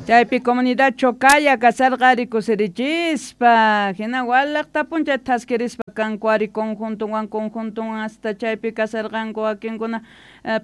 Chaypi comunidad Chocaya kasarqa ari kusirichispa, hina walaqtapun chay thaskirispa kanku ari conjuntonwan conjuntonwan hasta chaypi kasarqanku wakinkuna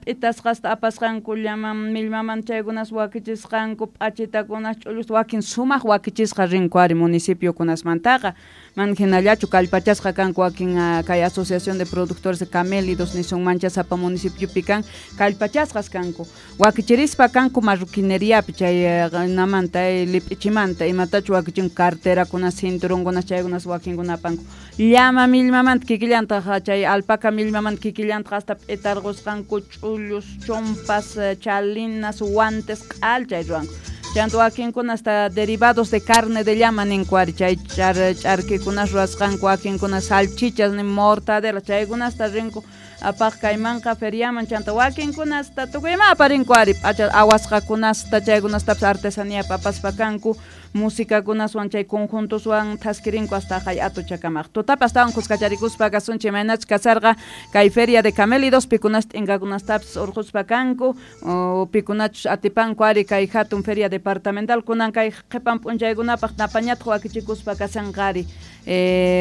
p'itasqasta apasqanku llama millmaman chaykunas wakichisqanku p'achitakunas ch'ullusta wakin sumaq wakichisqa rinku ari municipiokunasmantaqa man hinallachu kallpachasqa kanku wakin kay asociación de productores de camélidos nisunmancha sapa municipiopi kan kallpachasqas kanku wakichirispa kanku marroquineriapi chay namanta lip'ichimanta imatachu wakichinku carterakunas cinturonkunas chaykunas wakinkuna apanku llama millmamanta kikillantaq chay alpaca millmamanta kikillantaq hasta p'itarqusqanku ch'ullus chompas chalinas guantes q'al chay ruwanku chanta wakinkuna hasta derivados de carne de llama ninku ari chay ch'arkikunas ruwasqanku wakinkuna salchichas ni mortadela chaykunasta rinku apaq kaymanqa feriaman chanta wakinkuna hasta tukuy ima aparinku ari p'acha awasqakunasta chaykunastapis artesanía apaspa kanku musicakunaswan chay conjuntoswan thaskirinku hasta hay atuchakamaq tutapas astawan kuskacharikuspa kasunchik imaynachus kasarqa kay feria de camélidos pikunas t'inkakunastapis urquspa kanku pikunachus atipanku ari kay hatun feria departamental kunan kay qhipan p'unchaykunapaq napañataq wakichikuspa kashanqa ari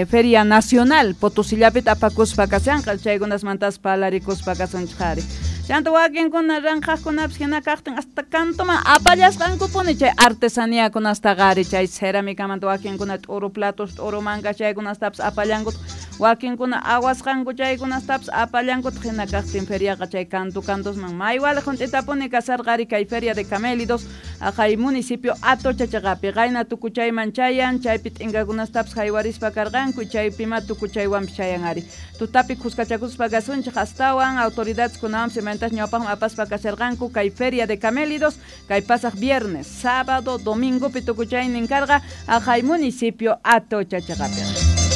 feria nacional Potosillapita apakuspa kashanqa chaykunasmantas parlarikuspa kasunchik ari chanta wakinkuna ranqhaqkunapis hina kaqtin hasta kantuman apallasqankupuni chay artesaniakunastaqa ari chay ceramicamanta wakinkuna t'uru platos t'uru mankas chaykunastapis apallankutaq wakinkuna awasqanku chaykunastapis apallankutaq hina kaqtin feriaqa chay kantu kantusman may waliq hunt'itapuni kasarqa ari kay feria de camélidos aqay municipio Atochachaqapi qayna tukuchayman chayan chaypi t'inkakunastapis haywarispa karqanku chaypima tukuchaywanpis chayan ari tutapi kuskachakuspa kasunchik astawan autoridades kunawanpis imaynatachus ñawpaqman apaspa kasharqanku kay feria de camélidos kay pasaq viernes sábado domingopi tukuchaynin karqa aqay municipio Atochachaqapiqa.